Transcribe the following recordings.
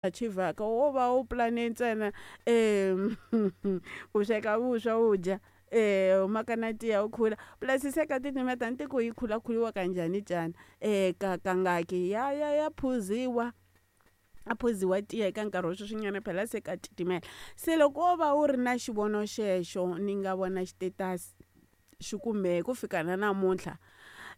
Achivhaka wo va u pulane ntsena ku sweka vuswa u dya u maka na tiya u khula plus se ka titimeta ni tiku yi khulakhuliwa kanjhani xana ka kangaki ya ya ya phuziwa a phuziwa tiya eka nkarhi wa sweswinyana phela se ka titimela se loko wo va u ri na xivono xexo ni nga vona xitetasi xi ku mehe ku fika na namuntlha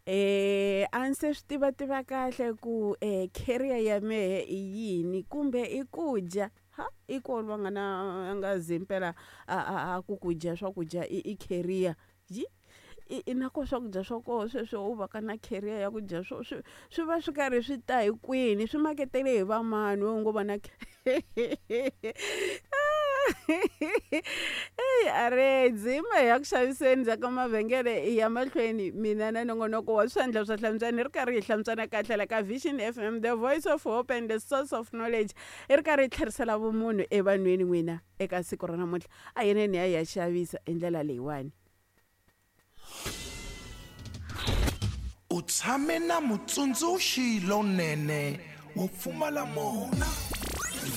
a ni se swi tiva tiva kahle ku career ya mehe i yini kumbe i ku dya ha i ko loyi a nga na a nga zi mpela a ku ku dya swakudya i career yi i na ko swakudya swa koho sweswo u va ka na career ya ku dya swo swi swi va swi karhi swi ta hi kwini swi maketele hi va mani we u ngo va na eyi a re dzima hi ya ku xaviseni bya ka mavhengele hi ya mahlweni mina na nongonoko wa swandla swa hlantswana hi ri karhi hi hlantswana kahle la ka Vision F_M the voice of hope and the source of knowledge hi ri karhi hi tlherisela vumunhu evanhwini n'wina eka siku ra namuntlha a hi ya hi ya xavisa hi ndlela leyiwani. U tshame na mutsundzuxi lonene wo pfumala mona.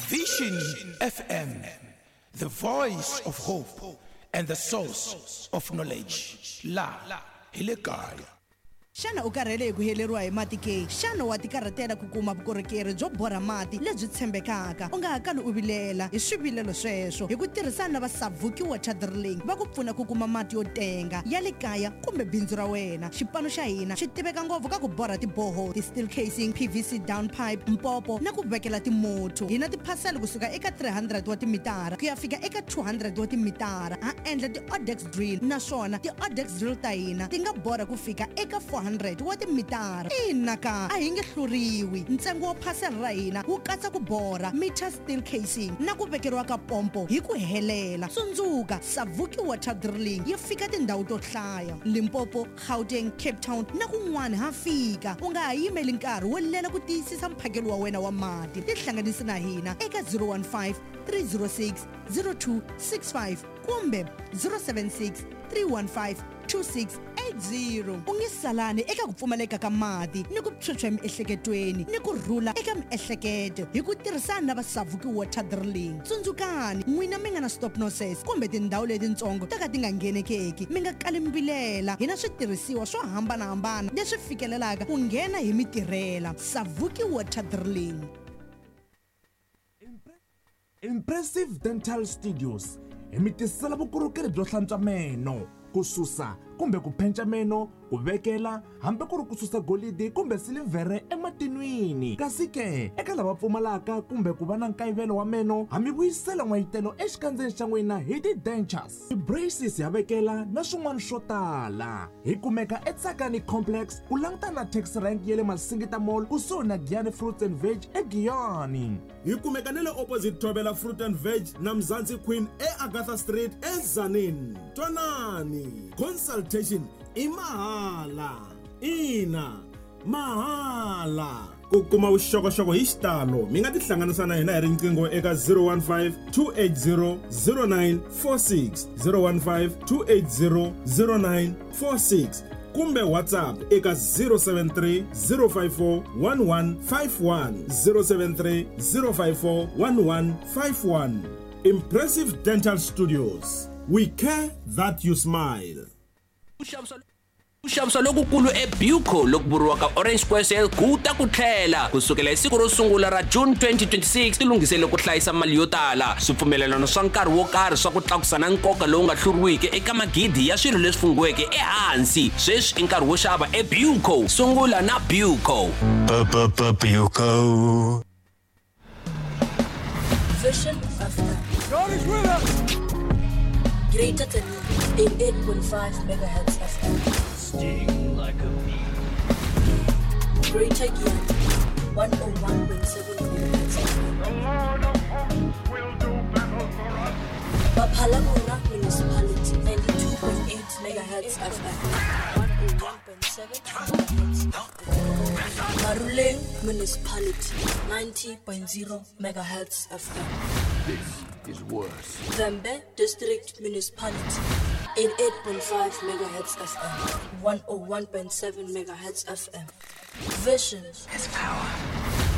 Vision FM, the voice of hope and the source of knowledge. La hi le kaya. Xana u karhele hi ku heleriwa hi mati ke? Xana wa tikarhatela ku kuma vukorhokeri byo borha mati lebyi tshembekaka? U nga ha kali u vilela hi swivilelo sweswo. Hi ku tirhisana na va Savuki Water Drilling va ku pfuna ku kuma mati yo tenga ya le kaya kumbe bindzu ra wena. Xipano xa hina xi tiveka ngopfu ka ku borha ti-borehole, ti-steel casing, PVC down pipe, mpopo na ku vekela timotho. Hi na tiphasela kusuka eka 300 wa timitara ku ya fika eka 200 wa timitara. Ha endla ti-odex drill naswona ti-odex drill ta hina ti nga borha ku fika eka 400 wa timitara. Ina ka, a hi nge hluriwi. Ntsengo wa phasela ra hina wu katsa ku borha, meter steel casing na ku vekeriwa ka pompo hi ku helela. Tsundzuka, Savuki Water Drilling yi fika tindhawu to hlaya, Limpopo, Gauteng, Cape Town na kun'wana ha fika. U nga ha yimeli nkarhi wo lela ku tiyisisa mphakelo wa wena wa mati. Tihlanganisi na hina eka 015 306 0265 kumbe 076 315 2680. U nge salani eka ku pfumaleka ka mati ni ku phyuphya emiehleketweni ni ku rhula eka miehleketo hi ku tirhisana na va Savuki Water Drilling. Tsundzukani, n'wina mi nga na stop noses kumbe tindhawu letitsongo to ka ti nga nghenekeki, mi nga kali mi vilela. Hi na switirhisiwa swo hambanahambana leswi fikelelaka ku nghena hi mi tirhela. Savuki Water Drilling. Impressive Dental Studios hi mi tisela vukorhokeri byo hlantswa meno ku susa kumbe ku phenca meno ku vekela hambi ku ri ku susa golidi kumbe silivhere ematinwini kasi ke eka lava pfumalaka kumbe ku va na nkayivelo wa meno ha mi vuyisela n'wayitelo exikandzeni xa n'wina hi ti-dentures ti-braces ya vekela na swin'wana swo tala hi kumeka etsakani complex ku langutana na taxi rank ya le masingita mall kusuhi na giyani fruits and veg egiyani Hi kumeka na le opposite Thobela Fruit and Veg na Mzansi Queen eAgatha Street eTzaneen. Twanani, consultation i mahala. Ina, mahala. Ku kuma vuxokoxoko hi xitalo mi nga tihlanganisa na hina hi riqingho eka 015 280 0946 015 280 0946 kumbe WhatsApp eka 073 054 1151 073 054 1151. Impressive Dental Studios. We care that you smile. Ku xavisa lokukulu eBuco loku vuriwaka Orange Square Sale ku ta ku tlhela ku sukela hi siku ro sungula ra June 2026 tilunghisele ku hlayisa mali yo tala swipfumelelano swa nkarhi wo karhi swa ku tlakusa na nkoka lowu nga hluriwiki eka magidi ya swilo leswi funghiweke ehansi sweswi i nkarhi wo xava eBuco sungula na Buco Buco. Vision FM. God is with us. Greater than 88.5 megahertz FM. Sting like a bee. Greater Giyani 101.7 megahertz FM. The Lord of hosts will do battle for us. Baphalamora Municipality 92.8 megahertz FM. 101.7 megahertz FM. Maruleng Municipality 90.0 megahertz FM. This is worse. Vhembe District Municipality 88.5 megahertz FM. 101.7 megahertz FM. Vision has power.